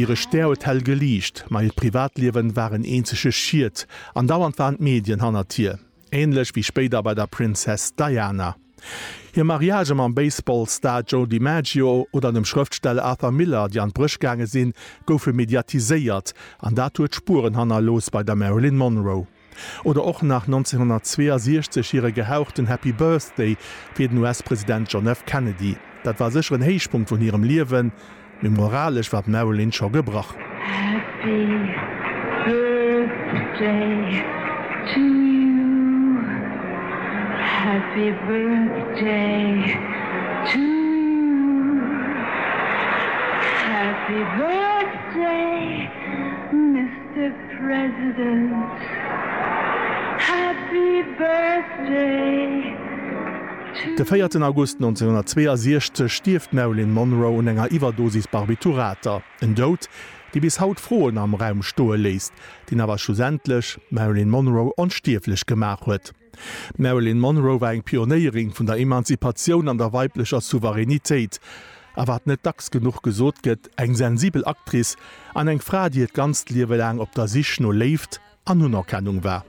Hire Stär huet hell geliicht, ma hiert Privatliewen war en eenzege Schiet an dauernd waren d'Medien hannert hir, änlech wéi spéider bei der Princess Diana. Hir Mariagë mam Baseball-Star Joe DiMaggio oder dem Schrëftsteller Arthur Miller, déi an d'Bréch gaange sinn, goufe mediatiséiert an dat huet Spueren hannerlooss bei der Marilyn Monroe. Oder och nach 1962 hire gehauchten Happy Birthday fir den US-President John F. Kennedy. Dat war sécher en Héichpunkt vun hirem Liewen, mee moralesch war d'Marilyn scho gebrach. Happy Birthday to you, Happy Birthday to you, Happy Birthday Mister President, Happy Birthday to De véierten August 1962 stierft d'Marilyn Monroe un enger Iwwerdosis Barbiturater. En Doud, dee bis haut Froen am Raum stoe léisst, deen awer schlussendlech d'Marilyn Monroe onstierflech gemaach huet. D'Marilyn Monroe war eng Pionéierin vun der Emanzipatioun an der weiblecher Souveränitéit. A wat net dacks genuch gesot gëtt, eng sensibel Actrice an eng Fra, déi hiert ganzt Liewe laang op der Sich no Léift an Unerkennung war.